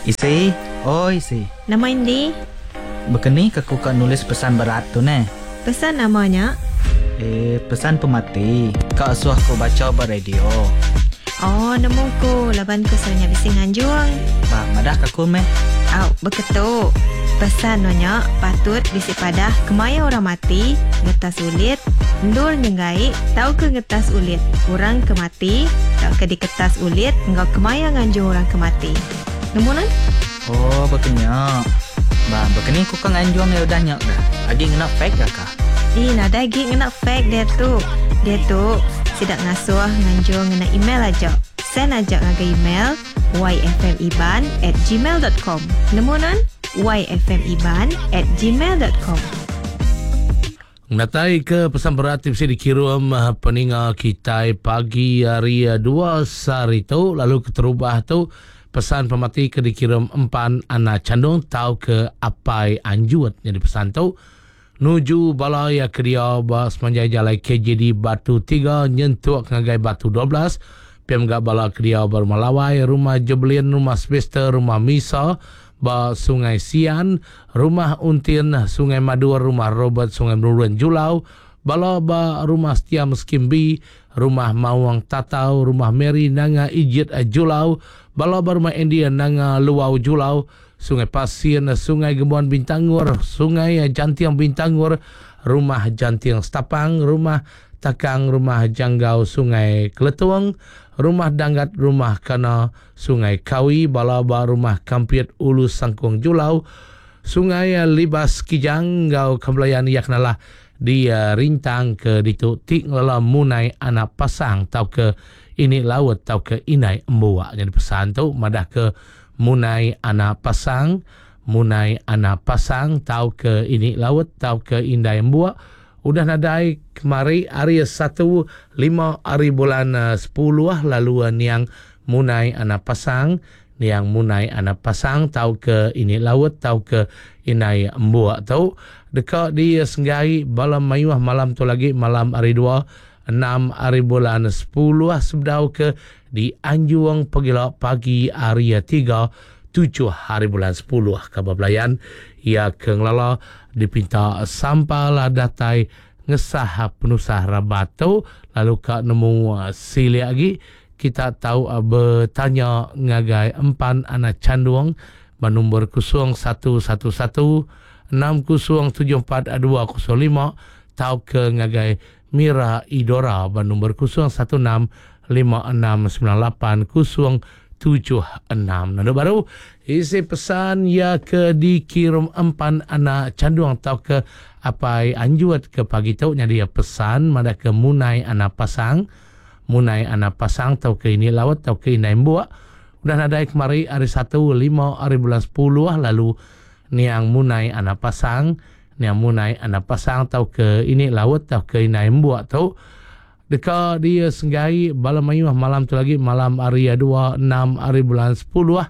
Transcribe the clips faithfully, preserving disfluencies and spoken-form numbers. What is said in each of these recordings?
Isi, oi isi. Nama indi? Bekeni ke ku ka nulis pesan berat tu neh? Pesan nama nya? Eh, pesan pemati. Ka asuh ku bacha ba radio. Oh, nemu ku laban ku selalu nya bisi nganjung. Ba, madah ka ku meh. Au, beketu. Pesan no nya patut bisi padah kemaya orang mati, ngetas ulit, endur nyenggai, tauka ngetas ulit orang ke mati, tauka diketas ulit enggau kemaya nganjung orang ke mati. Nemu nan? Oh, bekenya. Ba, bekeni ku ka nganjung ya udah nya dah. Agi ngena fax ga ka? Ih, nadai agi ngena fax dia tu. Dia tu sida ngasuh nganjung ngena email aja. Send aja ngagai email yfmiban at gmail dot com. Nemu nan? yfmiban at gmail dot com. Natai ke pesan berat ti bisi dikirum peninga kitai pagi hari dua sehari tu, lalu keterubah tu pesan pemati ke dikirum empan anak candung tau ke apai anjut. Jadi pesan tu nuju bala ya ke dia ba semanjai jalai K J D Batu tiga nyentuk ngagai Batu dua belas. Piam gak bala ke dia ba rumah Lawai, rumah Jebelin, rumah Sylvester, rumah Misa ba Sungai Sian, rumah Untin, Sungai Madur, rumah Robert, Sungai Merurun Julau, bala ba rumah Setia Meskim B, rumah Mawang Tatau, rumah Mary Nanga Ijit Julau, bala ba rumah Andy Nanga Luau Julau, Sungai Pasin, Sungai Gembuan Bintangur, Sungai Jantiang Bintangur, rumah Jantiang Setapang, rumah Takang, rumah Janggau Sungai Keletung, rumah Danggat, rumah Kana, Sungai Kawi, bala ba rumah Kampit Ulu Sangkung Julau, Sungai Libas Kijang, ngau Kembelayan Yaknalah di, uh, Rintang ke ditu tik ngelela Munai anak pasang tau ke ini laut tau ke inai embuak. Jadi pesan tu madah ke Munai anak pasang, Munai anak pasang tau ke ini laut tau ke indai embuak. Udah nadai kemari hari satu lima hari bulan, uh, sepuluh lalu, uh, niang Munai anak pasang, niang Munai anak pasang tau ke ini laut tau ke inai embuak tu deka di senggai bala mayuh malam tu lagi malam hari dua enam hari bulan sepuluh sebedau ke di Anjung Pegila pagi hari tiga tujuh hari bulan sepuluh. Kabar belayan ia ke ngelala dipinta sampal datai ngesah penusah rabat tu lalu ka nemu, uh, silik lagi kita tahu, uh, bertanya ngagai empan anak candung bernombor kosong satu satu satu enam kosong tujuh empat dua kosong lima tau ke ngagai Mira Idora bernombor kosong satu enam lima enam sembilan lapan kosong tujuh enam. Lalu baru isi pesan ya ke dikirim empan anak candung atau ke apai anjut ke pagi tu jadi pesan mada ke Munai anak pasang, Munai anak pasang atau ke ini laut atau ke inai mbuak. Udah nadai kemari hari satu lima hari bulan sepuluh lalu niang Munai anak pasang, niang Munai anak pasang atau ke ini laut atau ke inai mbuak tu deka dia senggai bala mayuh malam tu lagi malam hari dua enam hari bulan sepuluh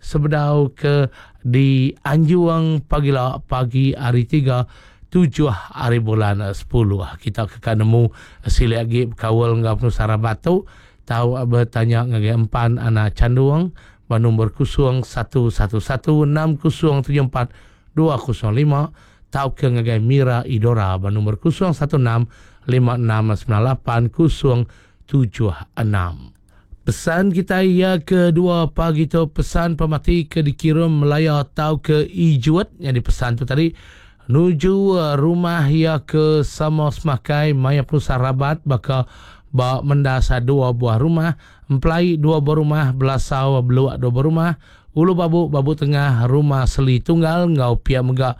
sebedau ke di Anjuang pagila pagi hari tiga tujuh hari bulan sepuluh. Kita ke nemu silik lagi berkawal enggau penusah rabat tu tahu bertanya ngagai empan anak candung ba nombor kosong satu satu satu enam kosong tujuh empat dua kosong lima tau ke ngagai Mira Idora ba nombor kosong satu enam lima enam sembilan lapan kosong tujuh enam. Pesan kita ia kedua pagi tu pesan pemati ke dikirim Melaya tau ke Ijuat yang dipesan tu tadi nuju, uh, rumah ia ke sama semakai maya pusat rabat baka ba mendasa dua buah rumah, empelai dua buah rumah, belasau beluak dua buah rumah, ulu babu babu tengah rumah seli tunggal ngau pia mega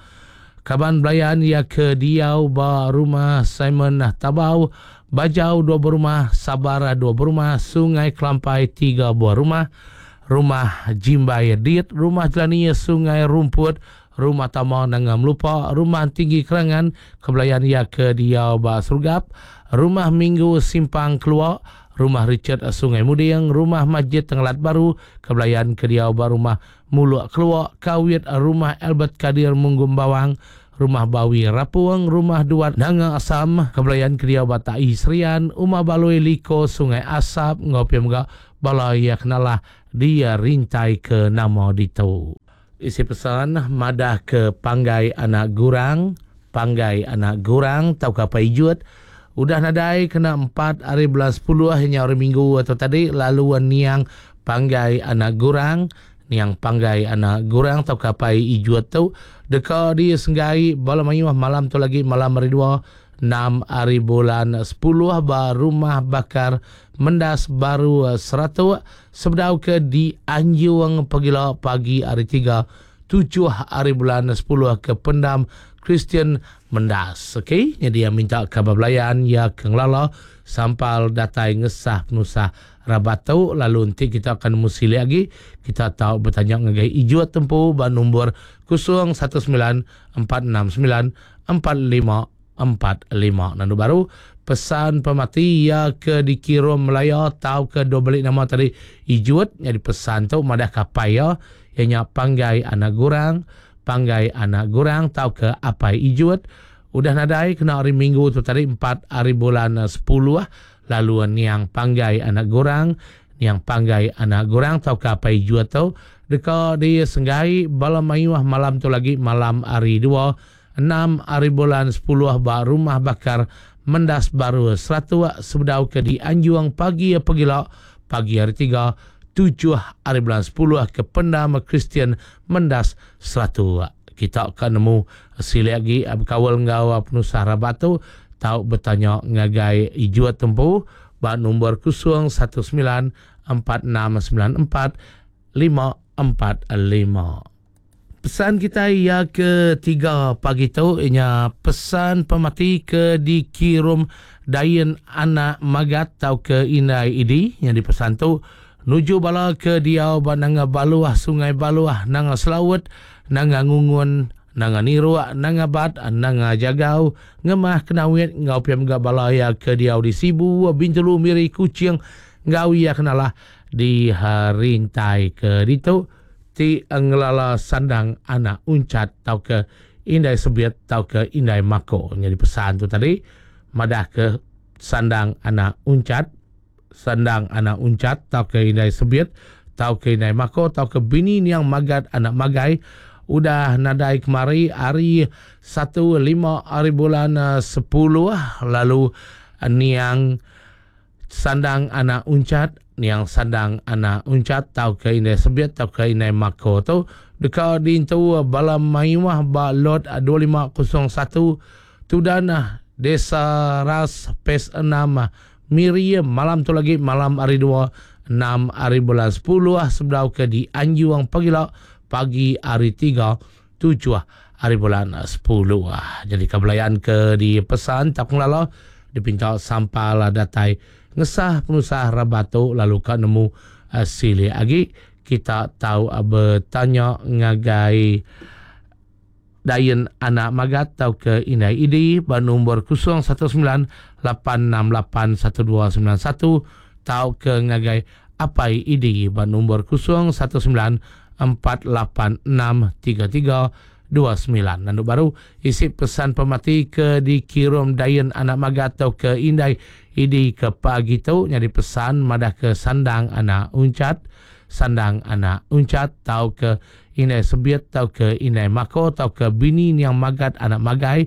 kaban belayan ia ke diau ba rumah Simon Tabau, Bajau dua buah rumah, Sabar dua buah rumah, Sungai Kelampai tiga buah rumah, rumah Jimbai Dit, rumah Jelani Sungai Rumput, rumah Tama Nanga Melupa, rumah Tinggi Kerangan, kebelayan ia ke diau ba Serugap, rumah Minggu Simpang Keluar, rumah Richard Sungai Muding, rumah Masjid Tenggelat Baru, kebelayan ke diau ba rumah Muluk Keluar, Kawit, rumah Albert Kadir Munggum Bawang, rumah Bawi Rapuang, rumah Duat Nanga Asam, kebelayan ke diau ba Tai Serian, Umar Baloi Liko Sungai Asap, ngau pia mega bala ia kenalah dia rintai ke nama ditu. Isi pesan madah ke Panggai Anak Gurang, Panggai Anak Gurang tau ka Apai Ijut udah nadai kena empat hari bulan sepuluh hanya hari Minggu atau tadi lalu niang Panggai Anak Gurang, niang Panggai Anak Gurang tau ka Apai Ijut tu deka disenggai bala mayuh malam tu lagi malam hari dua enam hari bulan sepuluh ba rumah bakar Mendas Baru Seratuk sebedau ke di Anjung pagila pagi hari tiga tujuh hari bulan sepuluh ke Pendam Kristian Mendas. Okey, jadi yang minta kabar belayan ya ke ngelala sampal datai ngesah penusah rabat tu lalu nanti kita akan mesti lagi kita tahu bertanya ngagai Ijut tempu ba nombor kosong satu sembilan empat enam sembilan empat lima empat lima. Nandu baru pesan pemati ya ke dikirim Melaya tau ke dua balik nama tadi Ijut jadi pesan tu madah kapai ya ianya Panggai Anak Gurang, Panggai Anak Gurang tau ke Apai Ijut udah nadai kena hari Minggu tu tadi empat hari bulan sepuluh lalu niang Panggai Anak Gurang, niang Panggai Anak Gurang tau ke Apai Ijut tu deka disenggai bala mayuh malam tu lagi malam hari dua enam hari bulan sepuluh ba rumah bakar Mendas Baru Seratuk sebedau ke di Anjung pagi pagila pagi hari tiga tujuh hari bulan sepuluh ke Pendam Kristian Mendas Seratuk. Kita akan nemu sili lagi berkawal ngau penusah rabat tu tau bertanya ngagai Ijut tempu ba nombor kosong satu sembilan empat enam sembilan empat lima empat lima. Pesan kita ya ketiga pagi tu ianya pesan pemati ke dikirim Dayen Anak Magat tau ke Indai Idi yang dipesan tu nuju bala ke diau ba nanga Baluah Sungai Baluah nanga Selaut nanga Ngungun nanga Niruak nanga Bat nanga Jagau ngemah Kenawit ngau piam ga bala ya ke diau di Sibu Bintulu Miri Kuching ngau ya kenalah di rintai ke ditu ti ngelala sandang anak uncat tau ke Indai Sebiat tau ke Indai Mako. Jadi pesan tu tadi madah ke sandang anak uncat, sandang anak uncat tau ke Indai Sebiat tau ke Indai Mako tau ke bini niang Magat anak Magai udah nadai kemari hari satu lima hari bulan sepuluh lalu niang sandang anak uncat, niang sandang anak uncat tau ke Indai Sebiat tau ke Indai Mako tu deka diintu bala mayuh ba lot dua lima kosong satu Tudan Desa Ras P E S enam Miri malam tu lagi malam hari dua enam hari bulan sepuluh sebedau ke di Anjuang pagila pagi hari tiga tujuh hari bulan sepuluh. Jadi kebelayan ke di pesan tak ngelala dipinta sampal datai ngesah penusah rabatu lalu ka nemu uh, sili agi kita tahu uh, bertanya ngagai Dayen Anak Magat tau ke Indai Idi ba nombor kosong satu sembilan lapan enam lapan satu dua sembilan satu tau ke ngagai Apai Idi ba nombor kosong satu sembilan empat lapan enam tiga tiga dua sembilan. Nandu baru isi pesan pemati ke dikirim Dayen Anak Magat tau ke Indai Idi ke pagi tu nyadi pesan madah ke sandang anak uncat, sandang anak uncat tau ke Indai Sebiat tau ke Indai Mako tau ke bini niang Magat anak Magai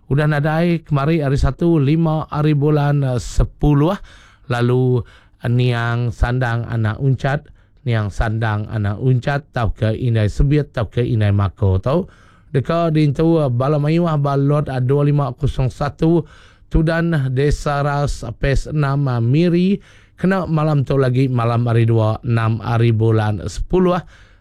udah nadai kemari hari satu lima hari bulan sepuluh lalu niang sandang anak uncat, niang sandang anak uncat tau ke Indai Sebiat tau ke Indai Mako tau deka diintu bala mayuh ba lot dua lima kosong satu Tudan Desa Ras P E S enam Miri kena malam tu lagi malam hari dua enam hari bulan sepuluh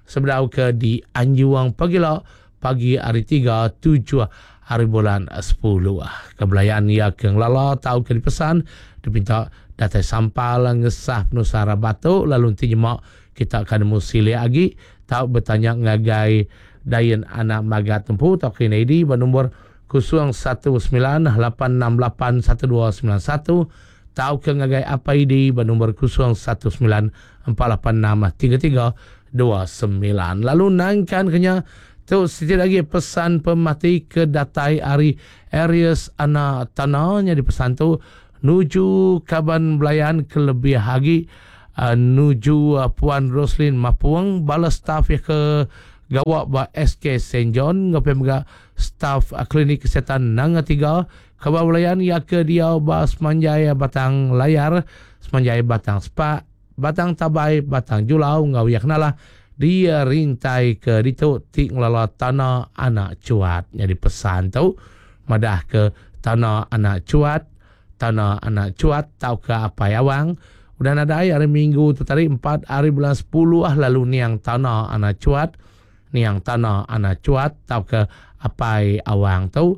sebedau ke di Anjuang pagila pagi hari tiga tujuh hari bulan sepuluh. Kebelayan ia ke ngelala tau ke dipesan dipinta datai sampal ngesah penusah batu lalu nanti jemak kita akan nemu sili lagi tau bertanya ngagai Dayen Anak Magat tempu tau ke I D bernombor kosong satu sembilan lapan enam lapan satu dua sembilan satu tau ke ngagai Apai I D bernombor kosong satu sembilan empat lapan enam tiga tiga dua sembilan. Lalu nangkan kenya tu sikit lagi pesan pemati ke datai hari Aries Anak Tanahnya di pesan tu nuju kaban belayan kelebih lagi uh, nuju uh, Puan Roslin Mapuang bala staf ya ke gawak ba S K Saint John ngau pemega staf uh, klinik kesihatan Nanga Tiga kabar belayan ya ke dia ba Semanjai Batang Layar, Semanjai Batang Sepak, Batang Tabai, Batang Julau ngau ya kenalah dia rintai ke ditu ti ngelala tanah anak cuat. Jadi pesan tu madah ke tanah anak cuat, tanah anak cuat tau ke apai awang. Udah nadai hari Minggu tu tadi empat hari bulan sepuluh ah lalu niang tanah anak cuat, niang tanah anak cuat tau ke apai awang tu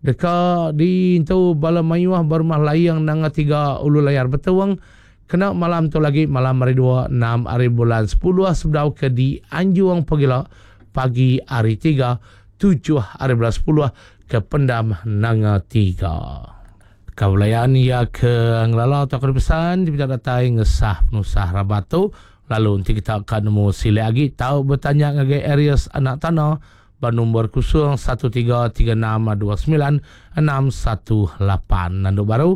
deka di tu bala mayuah berumah layang nanga tiga ulu layar betuang. Kena malam tu lagi malam hari dua enam hari bulan sepuluh sebedau ke di Anjuang Pagila pagi hari tiga tujuh hari bulan sepuluh ke Pendam Nanga Tiga. Kaulayan ya ke ngelala atau ke pesan kita datai ngesah penusah rabat tu lalu nanti kita akan nemu sila lagi tahu bertanya ngagai Aries anak tanah bernombor kosong satu tiga tiga enam dua sembilan enam satu lapan. Nanduk baru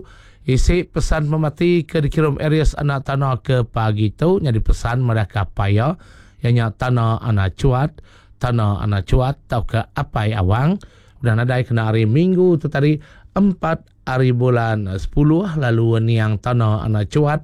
isi pesan pemati ke dikirim Aries anak tanah ke pagi tu jadi pesan mereka paya ianya tanah anak cuat, tanah anak cuat atau ke apai awang. Udah nadai kena hari Minggu tu tadi empat hari bulan sepuluh lalu niang tanah anak cuat,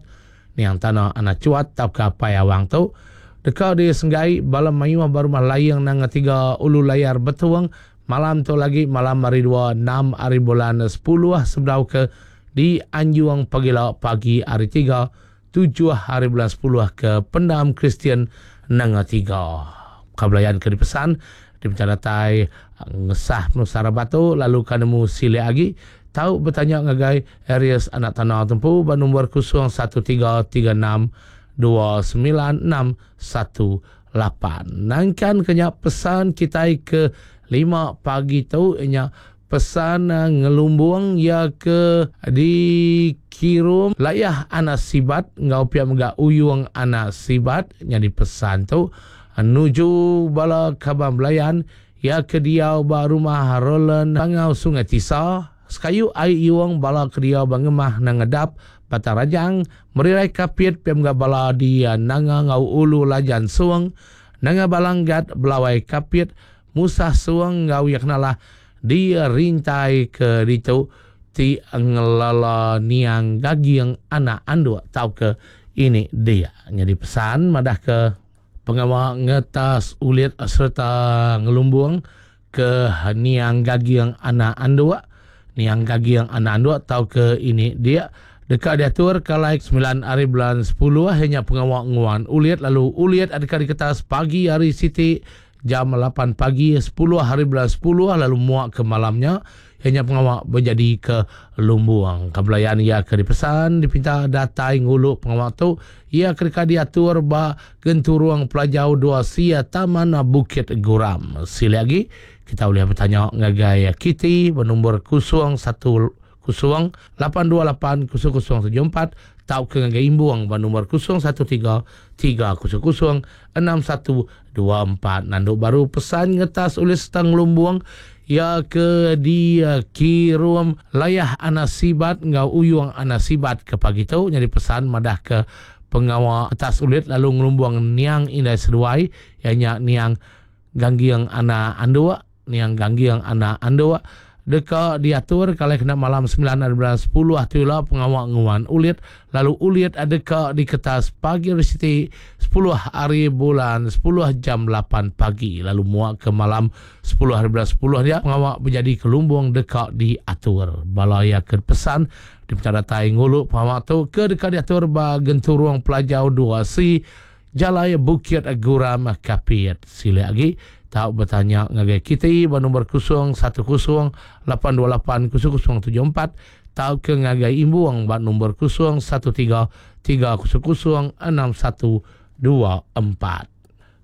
niang tanah anak cuat atau ke apai awang tu dekat di Senggai bala mayuah berumah layang nanga tiga ulu layar betuang malam tu lagi malam hari dua enam hari bulan sepuluh sebedau ke di Anjuang Pagila pagi hari tiga tujuh hari bulan sepuluh ke Pendam Kristian Nanga Tiga. Kabelayan ke dipesan diminta datai ngesah penusah batu lalu kanemu sila lagi tahu bertanya ngagai Aries anak tanah tempu bernombor kosong satu tiga tiga enam dua sembilan enam satu lapan. Nangkan kenya pesan kita ke lima pagi tu inya pesan ngelumbung ya ke dikirum layah anak sibat ngau pia mega uyung anak sibat jadi pesan tu nuju bala kabam belayan ya ke diau ba rumah Roland Bangau Sungai Tisa sekayu ai iwang bala ke diau ba ngemah nangedap Batang Rajang merirai kapit pia mega bala di nanga ngau ulu lajan suang nanga balanggat belawai kapit musah suang ngau ya kenalah di rintai ke ditu ti ngelala niang gagiang anak anduk tau ke ini dia. Jadi pesan madah ke pengawal ngetas ulit serta ngelumbung ke niang gagiang anak anduk, niang gagiang anak anduk tau ke ini dia. Dekat diatur kalai sembilan hari bulan sepuluh hanya pengawal nguan ulit lalu ulit adakah diketas pagi hari Siti jam lapan pagi sepuluh hari bulan sepuluh lalu muak ke malamnya hanya pengawal berjadi ke Lumbuang. Kebelayan ia ke dipesan dipinta datai nguluk pengawal tu ia ketika diatur ba genturuang pelajau dua sia Taman Bukit Guram. Sila lagi kita boleh bertanya ngagai Kitty bernombor kosong satu kosong lapan dua lapan kosong kosong tujuh empat tau ke ngagai Imbuang bernombor kosong satu tiga tiga kosong kosong enam satu dua empat. Nanduk baru pesan ngetas oleh setang Lumbuang ya ke di kirum layah anak sibat ngau uyung anak sibat ke pagi tu jadi pesan madah ke pengawal atas ulit lalu ngelumbuang niang indai seduai ianya niang ganggiang anak andua, niang ganggiang anak andua deka diatur kalau kena malam sembilan hari bulan sepuluh atulah pengawal nguan ulit lalu ulit adeka di kertas pagi hari sepuluh hari bulan sepuluh jam lapan pagi lalu muak ke malam sepuluh hari bulan sepuluh dia pengawal menjadi kelumbung deka diatur balaya ke pesan di datai nguluk pengawal tu ke deka diatur ba genturuang pelajau dua C Jalai Bukit Guram Kapit. Sila lagi tahu bertanya ngagai kita bernombor kosong satu kosong lapan dua lapan kosong kosong tujuh empat tahu ke ngagai Imbuang bernombor kosong satu tiga tiga kosong kosong enam satu dua empat.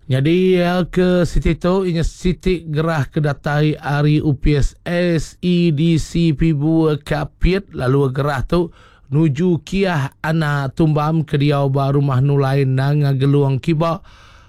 Jadi ya, ke Siti tu inya Siti gerah ke datai ari U P S S E D C Pibu Kapit lalu gerah tu nuju Kiah Anak Tumbam ke diau ba rumah Nulai Nanga Geluang Kiba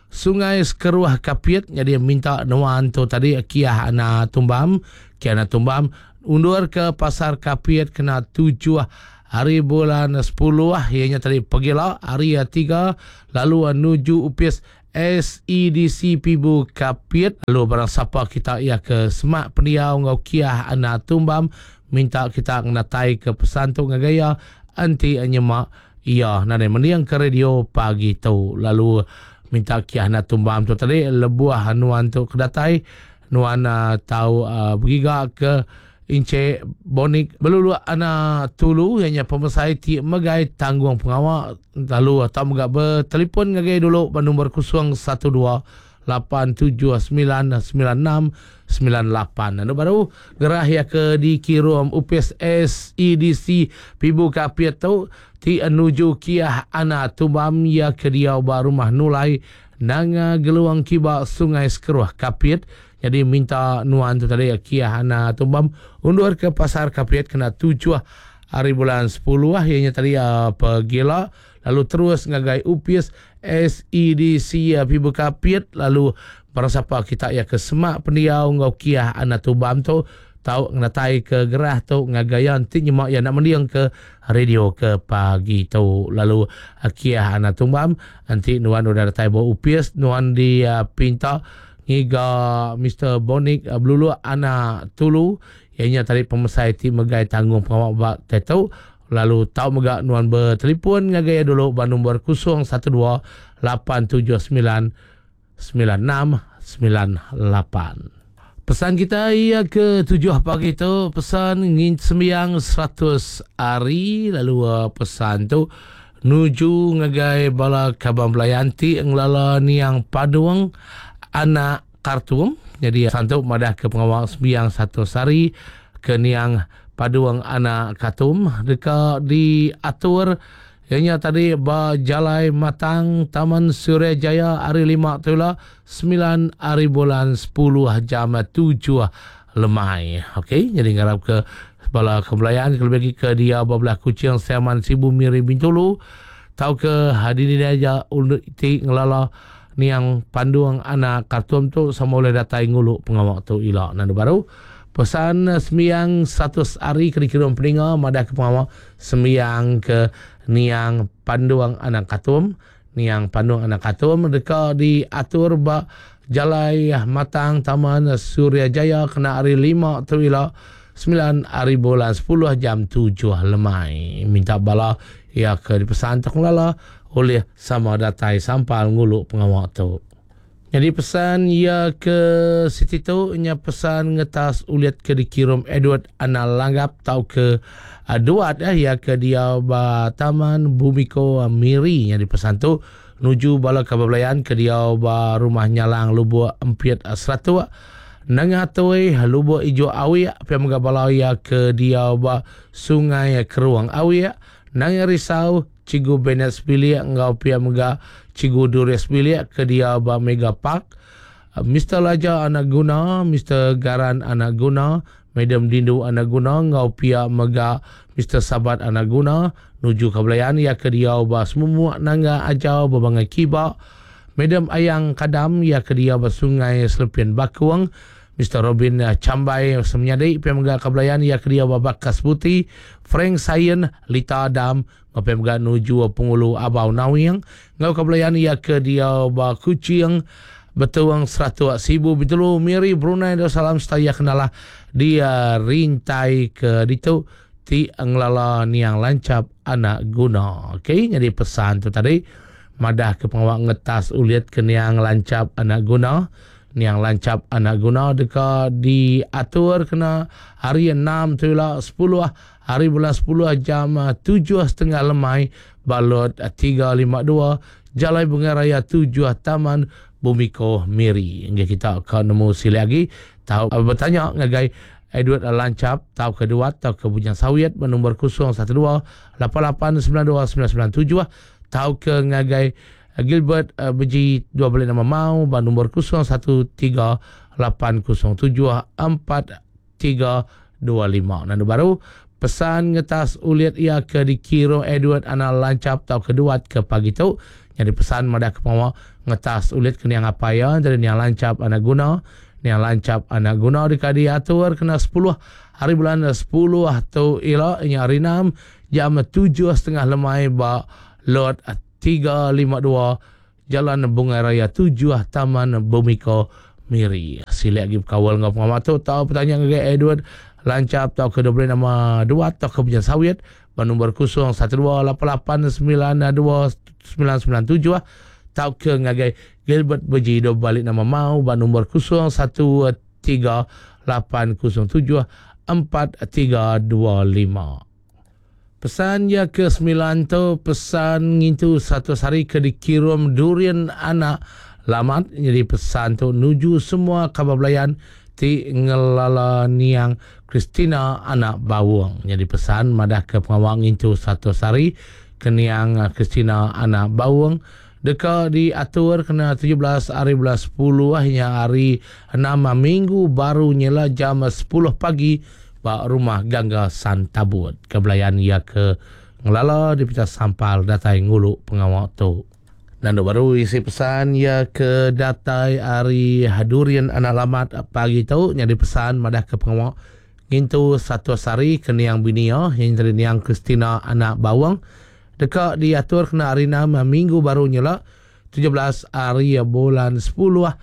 Sungai Sekeruah Kapit. Jadi minta nuan tu tadi Kiah Anak Tumbam, Kiah Anak Tumbam undur ke pasar Kapit kena tujuh hari bulan sepuluh ianya tadi pegila hari tiga lalu nuju upis S E D C Pibu Kapit. Lalu barang sapa kita ia ke semak pendiau ngau kiah anak tumbam minta kita ngenatai ke pesan tu ngagai ia anti nyemak ia nadai mending ke radio pagi tu. Lalu minta kiah anak tumbam tu tadi lebuh nuan tu kedatai nuan uh, tau uh, bergiga ke Encik Bonik Belulu anak tulu ianya pemesai ti megai tanggung pengawak. Lalu atau mega bertelefon ngagai dulu ba nombor kosong satu dua lapan tujuh sembilan sembilan enam sembilan lapan. Lalu baru gerah ya ke dikirum U P S S E D C Pibu Kapit tu ti menuju kiah anak tumbam ya ke dia ba rumah Nulai Nanga Geluang Kiba Sungai Sekeruh Kapit. Jadi minta nuan tu tadi kiah anak tumbam undur ke pasar Kapit kena tujuh hari bulan sepuluh ianya tadi uh, pegila lalu terus ngagai U P S S E D C uh, Pibu Kapit. Lalu barang siapa kita ya ke semak pendiau ngau kiah anak tumbam tu tau ngenatai ke gerah tu ngagai nanti nyemak ya nak mendiang ke radio ke pagi tu. Lalu kiah anak tumbam nanti nuan udah datai bawa U P S nuan di uh, pinta ngiga Mister Bonik uh, Belulu anak tulu ianya tadi pemesai ti megai tanggung pengawak bak tetu. Lalu tau mega nuan bertelefon ngagai dulu ba nombor kosong satu dua lapan tujuh sembilan sembilan enam sembilan lapan. Pesan kita ia ke tujuh pagi tu pesan ngin sembiang seratus hari. Lalu uh, pesan tu nuju ngagai bala kabang belayanti ngelala niang Paduang anak Kartum. Jadi pesan tu madah ke pengawal sembiang satu hari ke niang Paduang anak Kartum dekat diatur ianya tadi ba Jalai Matang Taman Suria Jaya hari lima tu lah sembilan hari bulan sepuluh jam tujuh lemai. Okey, jadi ngarap ke bala kebelayaan kalau bagi ke dia belah Kuching Siaman Sibu Miri Bintulu tau ke hadini dia untuk ti ngelala niang Panduang anak Kartum tu sama boleh datai nguluk pengawak tu ilak. Nanti baru pesan sembiang seratus hari kena kirim peninga madah ke pengawak sembiang ke niang Panduang anak Kartum. Niang Panduang anak Kartum dekat diatur ba Jalai Matang Taman Suria Jaya kena hari lima tu ilak sembilan hari bulan sepuluh jam tujuh lemai. Minta bala ya ke dipesan tak lala oleh sama datai sampal nguluk pengawak tu. Jadi pesan ya ke situ tu nya pesan ngetas uliat ke dikirim Edward Anal Langgap tau ke uh, Duat ya, ya ke dia ba Taman Bumiko Miri. Jadi pesan tu nuju bala kabablayan ke dia ba rumah Nyalang Lubuk Empiet Seratuk Nengah Toi Lubuk Ijo Awiak pia mega bala ya ke dia ba Sungai Keruang Awiak Nanga Risau Cigu Bennett Sebilik ngau pia mega Cigu Dures Sebilik ke dia ba Mega Park Mister Laja anak guna Mister Garan anak guna Madam Dindu anak guna ngau pia mega Mister Sabat anak guna nuju kebelayan ya ke dia ba Semumuak Nangga Ajau Babangai Kiba Madam Ayang Kadam ya ke dia ba Sungai Selepian Bakuang Mister Robin Cambai semenyadi pia mega kebelayan ya ke dia ba Bakas Putih Frank Sayen Lita Adam ngau pia mega nuju Pengulu Abau Nawing ngau kebelayan ya ke dia ba Kuching Betuang Seratus Sibu Bintulu Miri Brunei Darussalam setaya kenalah dia rintai ke ditu ti ngelala niang lancap anak guna. Okey, jadi pesan tu tadi madah ke pengawak ngetas uliat ke niang lancap anak guna. Niang lancap anak guna deka diatur kena hari enam tu lah sepuluh hari bulan sepuluh jam tujuh setengah lemai balot tiga lima dua Jalai Bunga Raya tujuh Taman Bumiko Miri. Hingga kita akan nemu sili lagi tahu bertanya ngagai Edward Lancap tahu kedua tahu ke Bujang Sawit bernombor kosong satu dua lapan lapan sembilan dua sembilan sembilan tujuh tahu ke ngagai Gilbert uh, Beji dua balik nama mau bernombor kosong satu tiga lapan kosong tujuh empat tiga dua lima. Nanti baru pesan ngetas uliat ia ke dikiro Edward Anal Lancap tahu kedua ke pagi tu. Jadi pesan madah ke pengawa ngetas uliat ke niang apa ya dari niang Lancap anak guna. Niang Lancap anak guna dekat diatur kena sepuluh hari bulan sepuluh atau ila nya hari enam jam tujuh setengah lemai ba lot tiga lima dua Jalan Bungai Raya tujuh Taman Bumiko Miri. Silek lagi berkawal dengan pengamat tu tau bertanya dengan Edward Lancap tau ke dua nama dua atau ke Pujan Sawit ba nombor kosong satu dua lapan lapan sembilan dua sembilan sembilan tujuh tau ke ngagai Gilbert Beji do balik nama mau ba nombor kosong satu tiga lapan kosong tujuh empat tiga dua lima. Pesan ya ke sembilan tu pesan ngintu satu hari ke dikirim durian anak lamat. Jadi pesan tu nuju semua kabar belayan ti ngelala niang Christina anak bawang. Jadi pesan madah ke pengawang ngintu satu hari ke niang Christina anak bawang deka diatur kena tujuh belas hari bulan sepuluh hingga hari enam minggu baru nyela jam sepuluh pagi ba rumah Gangga Santabut. Kebelayan ia ke ngelala di pita sampal datai ngulu pengawal tu. Dan baru isi pesan ia ke datai hari Durian anak lamat pagi tu nyadi pesan madah ke pengawal ngintu satu hari ke niang binia yang dari niang Christina anak bawang deka diatur kena hari enam minggu baru nyela tujuh belas hari bulan sepuluh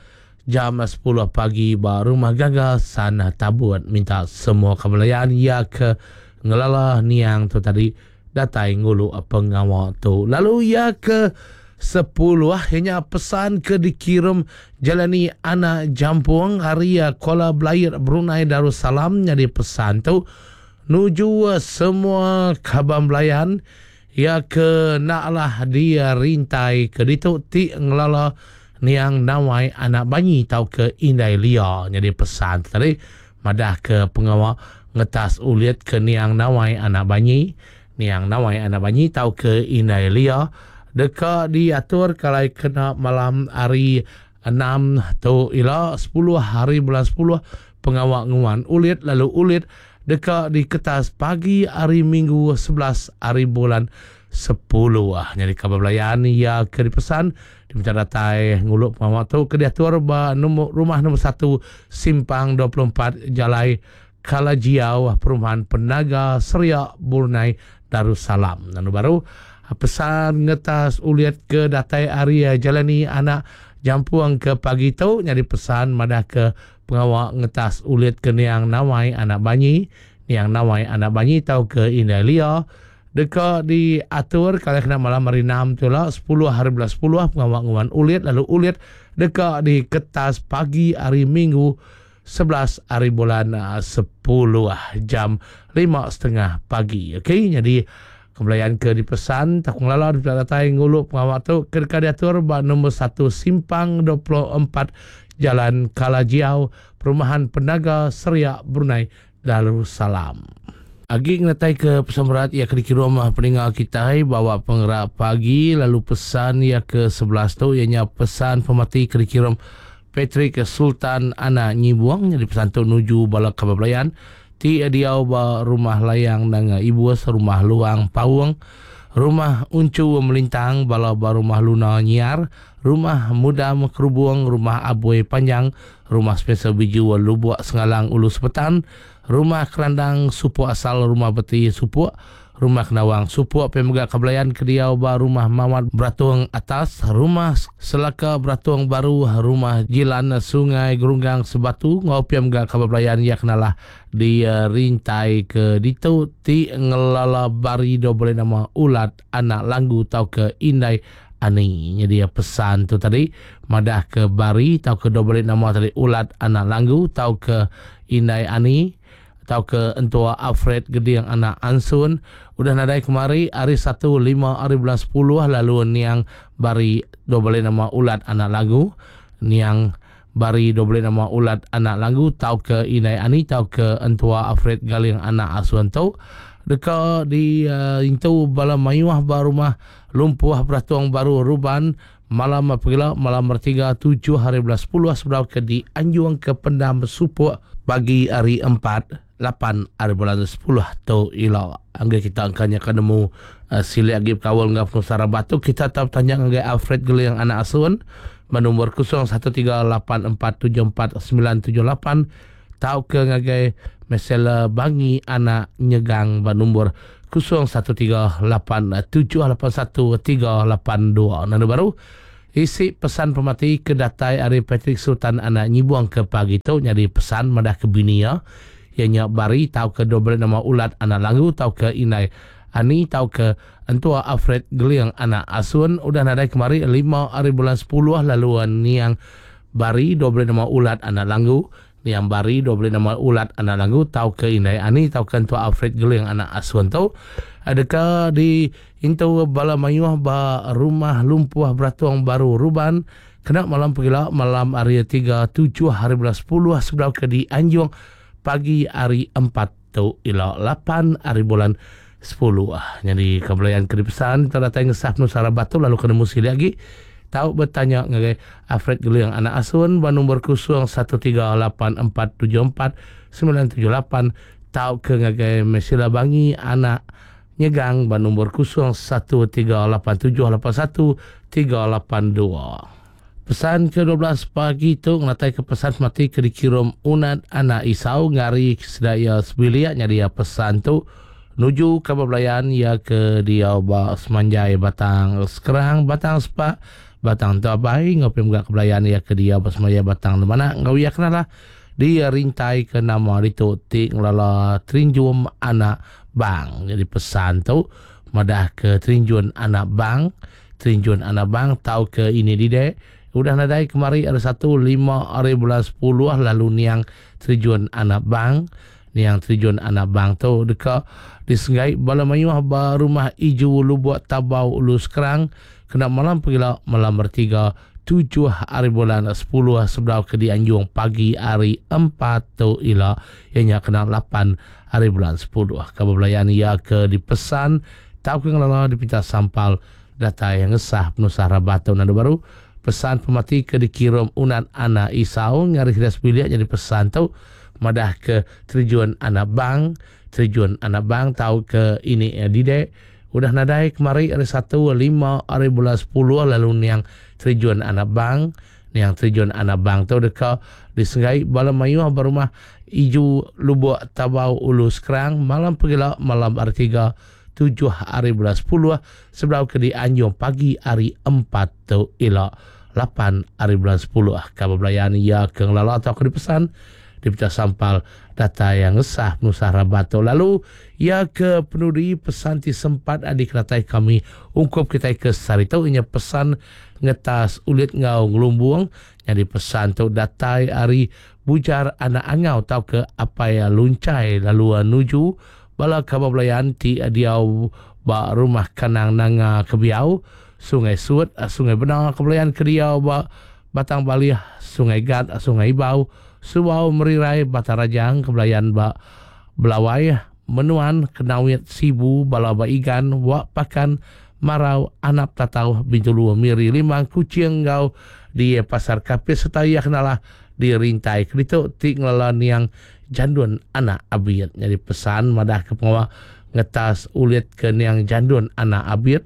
jam sepuluh pagi ba rumah Gangga Santabut. Minta semua kebelayan ia ke ngelala niang tu tadi datai ngulu pengawal tu. Lalu ia ke sepuluh hanya pesan ke dikirim jalani anak jampung hari Kuala Belair Brunei Darussalam. Jadi pesan tu nuju semua kaban belayan ia ke naklah dia rintai ke ditu ti ngelala niang nawai anak banyi tau ke indai lia. Jadi pesan tadi madah ke pengawal ngetas ulit ke niang nawai anak banyi, niang nawai anak banyi tau ke indai lia deka diatur kalau kena malam hari enam tu ila sepuluh hari bulan sepuluh pengawal nguan ulit lalu ulit deka diketas pagi hari Minggu sebelas hari bulan sepuluh. Jadi kabar belayan ia ke dipesan diminta datai nguluk pengawal tu ke diatur ba nombor rumah nombor satu Simpang dua puluh empat Jalai Kalajiau Perumahan Penaga Seria Brunei Darussalam. Lalu baru pesan ngetas uliat ke datai hari jalani anak jampuang ke pagi tu nyadi pesan madah ke pengawal ngetas ulit ke niang nawai anak banyi, niang nawai anak banyi tau ke indai lia deka diatur kalau kena malam hari enam tu lah sepuluh hari bulan sepuluh pengawal nguan ulit lalu ulit deka diketas pagi hari Minggu sebelas hari bulan sepuluh jam lima setengah pagi. Okey, jadi kebelayan ke dipesan takung lala di datai ngulu pengawal tu ke diatur ba nombor satu Simpang dua puluh empat Jalan Kalajiau Perumahan Penaga Seria Brunei Darussalam. Agi ngetai ke pesan berat ia ke dikirim peninggal kita bawa penggerak pagi lalu pesan ia ke sebelas tu ianya pesan pemati ke dikirim Patrick Sultan anak Nyibuang. Jadi pesan tu nuju bala kabar belayan ti diau ba rumah layang nanga ibu rumah luang paung rumah uncu melintang bala ba rumah luna nyiar rumah mudam kerubung rumah abui panjang rumah Spencer Biju Lubuk Sengalang Ulu Sepetan rumah Kerandang Supuk asal rumah Beti Supuk rumah Kenawang Supuk pemega kebelayan kediau ba rumah Mawat Beratung atas rumah Selaka Beratung baru rumah Jilan Sungai Gerunggang Sebatu ngau pemega kebelayan ya kenalah di uh, rintai ke ditu ti ngelala bari do boleh nama ulat anak langgu tau ke indai ani. Jadi pesan tu tadi madah ke bari tau ke do boleh nama tadi ulat anak langgu tau ke indai ani tau ke entua Alfred Geding anak Ansun udah nadai kemari hari satu lima hari bulan sepuluh lalu niang bari do boleh nama ulat anak lagu niang bari do boleh nama ulat anak lagu tau ke indai ani tau ke entua Alfred Galing anak Asuan tu deka di uh, intu bala mayuah ba rumah lumpuh Beratung baru Ruban malam apabila malam bertiga tujuh hari bulan sepuluh sebelum ke di Anjung ke Pendam Supuk pagi hari empat lapan hari bulan sepuluh tu ila. Angga kita angkanya kena mu uh, silik lagi kawal ngah pengusaha batu kita tetap tanya ngagai Alfred Geling anak Asun bernombor kosong satu tiga lapan empat tujuh empat sembilan tujuh lapan tau ke ngagai Mesela Bangi anak Nyegang bernombor kosong satu tiga lapan tujuh lapan satu tiga lapan dua. Nanda baru isi pesan pemati ke datai ari Patrick Sultan anak Nyibuang ke pagi tu nyadi pesan madah ke bini ya. Ianya Bari tau ke dua belas nama ulat anak langgu tau ke inai Ani tau ke entua Alfred Geling anak Asun udah nadai kemari lima hari bulan sepuluh lalu niang Bari dua belas nama ulat anak langgu. Niang Bari dua belas nama ulat anak langgu tau ke inai Ani tau ke entua Alfred Geling anak Asun tu adakah di intu bala mayuh ba rumah lumpuh Beratung Baru Ruban kena malam pegila malam hari tiga tujuh hari bulan sepuluh sebelum ke di Anjung pagi hari empat tu ila lapan hari bulan sepuluh. Jadi kebelayan ke dipesan terdatai ngesah penuh sarah batu lalu kena musi lagi tau bertanya ngagai Alfred Geling anak Asun ba nombor kosong satu tiga lapan empat tujuh empat sembilan tujuh lapan tau ke ngagai Mesila Bangi anak Nyegang ba nombor kosong satu tiga lapan tujuh lapan satu tiga lapan dua. Pesan ke dua belas pagi tu ngatai ke pesan mati ke dikirim unat anak Isau ngari sedaya sebiliak nyadi pesan tu nuju ke belayan ya ke dia ba semanjai batang sekerang batang sepak batang tabai ngopi mga kebelayan ya ke dia ba semanjai batang mana ngau ya kenalah dia rintai ke nama itu ti ngelala Trinjum anak bang. Jadi pesan tu madah ke Trinjun anak bang, Trinjun anak bang tau ke ini dide udah nadai kemari ada satu lima hari bulan sepuluh lalu niang Trinjun anak bang, niang Trinjun anak bang tu dekat disenggai bala mayuh ba rumah Iju Lubuk Tabau Ulu Sekerang kena malam pegila malam bertiga tujuh hari bulan sepuluh sebelum ke dianjung pagi hari empat tu ila ianya kena lapan hari bulan sepuluh. Kabar belayan ia ke dipesan tau ke ngelala dipinta sampal data yang ngesah penusah rabatu nanda baru pesan pemati ke dikirim unat anak Isau ngari hidas bilik jadi pesan tu madah ke Terjun anak bang, Terjun anak bang tau ke ini eh, didek udah nadai kemari hari satu lima hari bulan sepuluh lalu niang Terjun anak bang, niang Terjun anak bang tu dekat disenggai bala mayuh berumah Iju Lubuk Tabau Ulu Sekerang malam pegila malam hari tiga tujuh hari bulan sepuluh sebelum ke dianjung pagi hari empat tu ila lapan hari bulan sepuluh. Kabar belayan ia ke ngelala atau ke dipesan dipecah sampal data yang ngesah penusah rabato. Lalu ia ke penuri pesan ti sempat adik ratai kami ungkup kita ke sarito inya pesan ngetas ulit ngau ngelumbuang jadi pesan tu datai ari bujar anak angau tau ke apa ya luncai lalu nuju bala kabar belayan ti diau ba rumah kanang nanga kebiau Sungai Suut Sungai Benang kebelayan ke diau ba Batang Balih Sungai Gat Sungai Ibau Subau Merirai Batang Rajang kebelayan ba Belawai Menuan Kenawit Sibu Bala ba Igan Wak Pakan Marau Anap Tatau Bintulu Miri Limang Kucing Gau di Pasar Kapis serta ia kenalah di Rintai Kerituk ti ngelala niang Jandun anak Abid. Jadi pesan madah ke pengawal ngetas ulit ke niang Jandun anak Abid,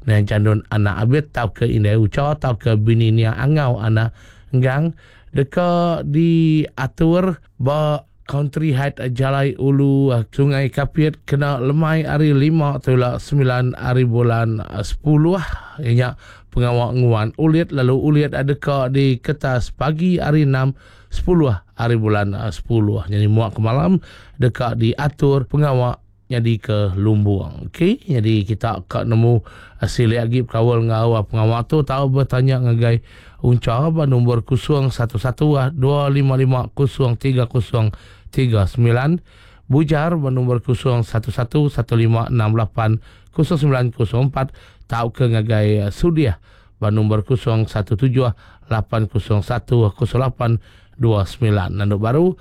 niang Jandun anak Abid tau ke Indai Uca tau ke bini niang Angau anak Enggang deka diatur ba Country Height Jalai Ulu Sungai Kapit kena lemai hari lima tulak sembilan hari bulan sepuluh ianya pengawal nguan ulit lalu ulit adeka di kertas pagi hari enam sepuluh hari bulan sepuluh. Jadi muak ke malam deka diatur pengawal jadi ke Lumbuang. Okey, jadi kita kak nemu hasil lagi kawal ngau pengawal tu tahu bertanya ngagai unca ba nombor kosong satu satu dua lima lima kosong tiga kosong tiga sembilan Bujar ba nombor kosong satu satu satu lima enam lapan kosong sembilan kosong empat tau ke ngagai Sudiah ba nombor kosong satu tujuh lapan kosong satu kosong lapan dua sembilan. Nanduk baru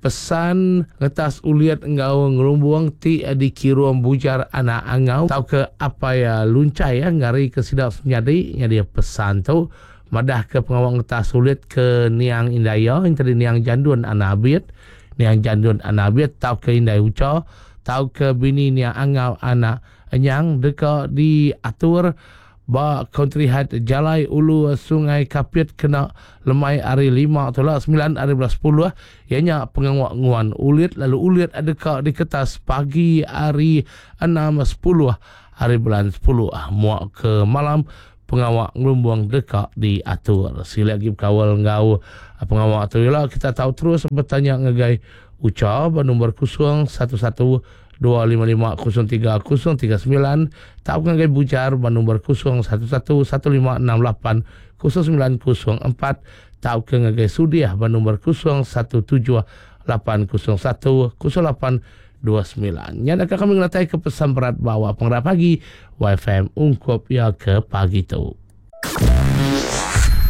pesan ngetas uliat ngau ngerumbuang ti dikirum bujar anak angau tau ke apa ya luncai ya ngari ke sidak nyadi nyadi pesan tu madah ke pengawal ngetas ulit ke niang Indaya yang tadi niang Jandun anak Abid, niang Jandun anak Abid tau ke Indai Uca tau ke bini niang Angau anak Enyang deka diatur ba Country Heights Jalai Ulu Sungai Kapit kena lemai hari lima tu lah sembilan hari belas sepuluh ianya pengawak nguan ulit lalu ulit adeka di kertas pagi hari enam sepuluh hari bulan sepuluh muak ke malam pengawak ngelumbung deka diatur. Sila lagi berkawal ngau pengawak tu ialah kita tahu terus bertanya ngagai Uca bernombor kosong satu satu dua lima lima kosong tiga kosong tiga sembilan tak ngagai Bujar bernombor kosong satu satu satu lima enam lapan kosong sembilan kosong empat tak ke ngagai Sudiah bernombor kosong satu tujuh lapan kosong satu kosong lapan dua sembilan. Yang akan kami ngelatai ke pesan berat bawa pengerap pagi Y F M ungkup ya ke pagi tu.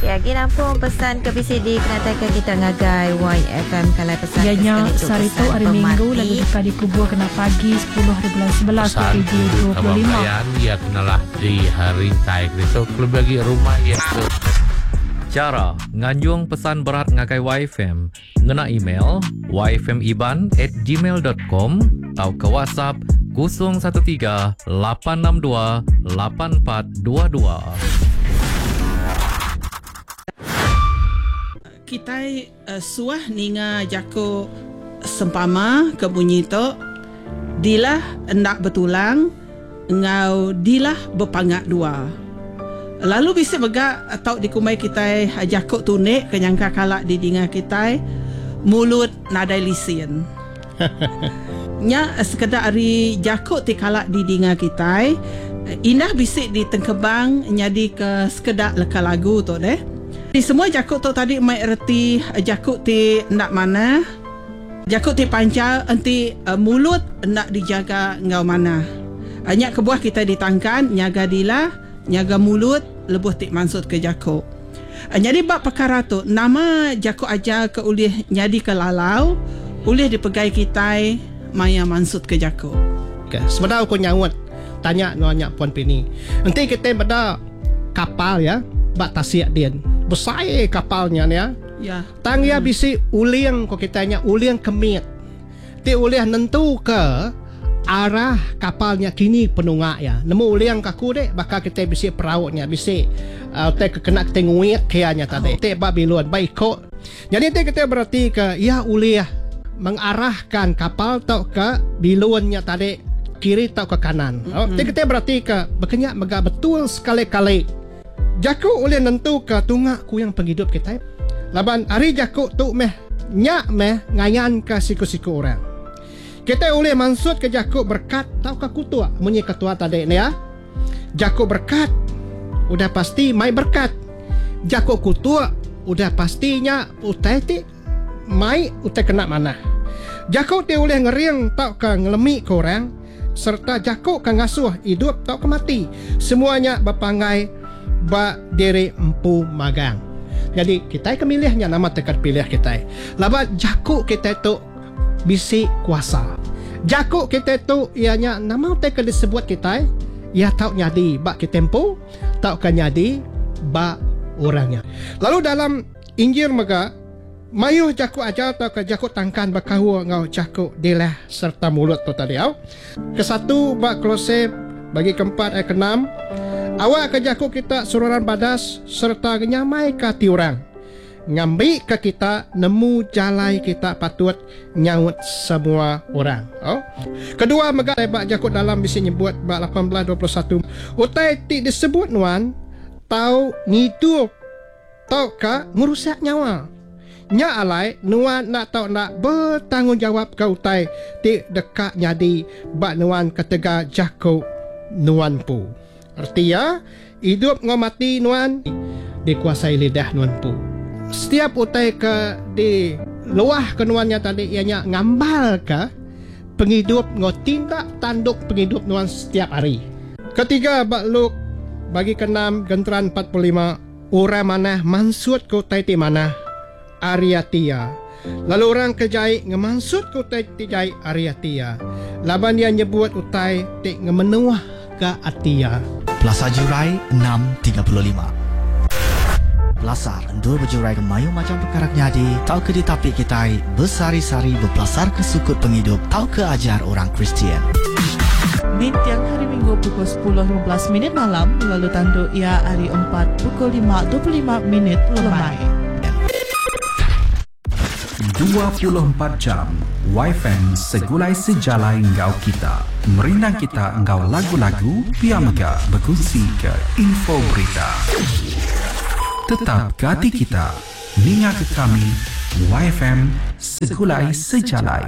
Ya, gini pun pesan ke B C D kena tag kita ngagai Y F M kalau pesan ya, nya sekali sehari tu hari Minggu lalu dekat dikubur kena pagi sepuluh hari bulan sebelas dua ribu dua puluh lima. Ya kenalah di hari tai itu lebih bagi rumah ya ke. Cara nganjung pesan berat ngagai Y F M ngena email y f m iban at gmail dot com atau ke WhatsApp kosong satu tiga lapan enam dua lapan empat dua dua. Kita uh, suah ninga jako sempama ke bunyi tu dilah endak betulang ngau dilah berpangak dua. Lalu bisa mega atau dikumai kita jako tunik kenyangka kalak di dinga kita mulut nadai lisin. Nya sekedar ari jako ti kalak di dinga kita indah bisik di tengkebang nyadi ke sekedak leka lagu tu deh. Di semua jakut tu tadi mai erti jakut ti nak mana jakut ti pancal enti uh, mulut nak dijaga ngau mana. Nyak kebuah kita ditangkan nyaga dilah nyaga mulut lebuh ti maksud ke jakut. Jadi bab perkara tu nama jakut aja ke ulih nyadi ke lalau ulih dipegai kita maya maksud ke jakut. Okey, sebenarnya aku nyaut tanya nanya puan Pini. Enti kita beda kapal ya bak tasik din. Besar kapalnya ni ya. Ya. Tang ya bisi uling ko kitanya uling kemit. Ti ulih nentu ke arah kapalnya kini penungak ya. Nemu uling kaku dek bakal kita bisi perauknya bisi uh, te kena kita nguit kianya tadi. Oh. Te bak bilun baik kok. Jadi te kita berarti ke ya ulih mengarahkan kapal tau ke bilunnya tadi kiri tau ke kanan. Mm-hmm. Oh, te kita berarti ke bekenyak mega betul sekali-kali. Jakuk oleh nentu ke tungak ku yang penghidup kita. Laban hari jakuk tu meh nyak meh ngayan ke siku-siku orang. Kita oleh maksud ke jakuk berkat tau ke kutuk munyi ketua tadi ni ya. Jakuk berkat udah pasti mai berkat. Jakuk kutuk udah pastinya utai ti mai utai kena mana. Jakuk ti oleh ngering tau ke ngelemik ke orang serta jakuk ke ngasuh hidup tau ke mati. Semuanya berpangai ba diri empu magang. Jadi kita kemilihnya nama tekat pilih kita. Laba jakuk kita tu bisi kuasa. Jakuk kita tu ianya nama tekat disebut kita ia tau nyadi ba kita empu, tau ka nyadi ba orangnya. Lalu dalam Injil mega mayuh jakuk ajar tau ka jakuk tangkan bakahu ngau jakuk dilah serta mulut tu tadi au. Kesatu ba Kolose bagi keempat ayat keenam. Awak ke jakuk kita sururan badas serta nyamai ke hati orang. Ngambil ke kita nemu jalai kita patut nyaut semua orang. Oh. Kedua mega bak jakuk dalam bisi nyebut bak lapan belas dua puluh satu. Utai ti disebut nuan tau ngidup tau ka ngerusak nyawa. Nya alai nuan nak tau nak bertanggungjawab ke utai ti dekat nyadi bak nuan ketega jakuk nuan pu. Artinya hidup ngau mati nuan dikuasai lidah nuan pu. Setiap utai ke di luah ke nuannya tadi ianya ngambal ke penghidup ngau tindak tanduk penghidup nuan setiap hari. Ketiga bak Luk bagi keenam genteran empat puluh lima orang manah mansut ke utai ti manah ariatia. Lalu orang kejai ngemansut ke utai ti jai ariatia. Laban dia nyebut utai ti ngemenuh ke atia. Plaza Jurai enam tiga puluh lima. Pelasar endur berjurai ke mayu macam perkara nyadi tau ke ditapi kitai bersari-sari berpelasar ke sukut penghidup tau ke ajar orang Kristian. Nintiang hari Minggu pukul sepuluh lima belas minit malam lalu tandu ia hari empat pukul lima dua puluh lima minit lemai. dua puluh empat jam Y F M segulai sejalai enggau kita. Merindang kita enggau lagu-lagu pia mega berkongsi ke info berita. Tetap gati kita. Ninga ke kami Y F M segulai sejalai.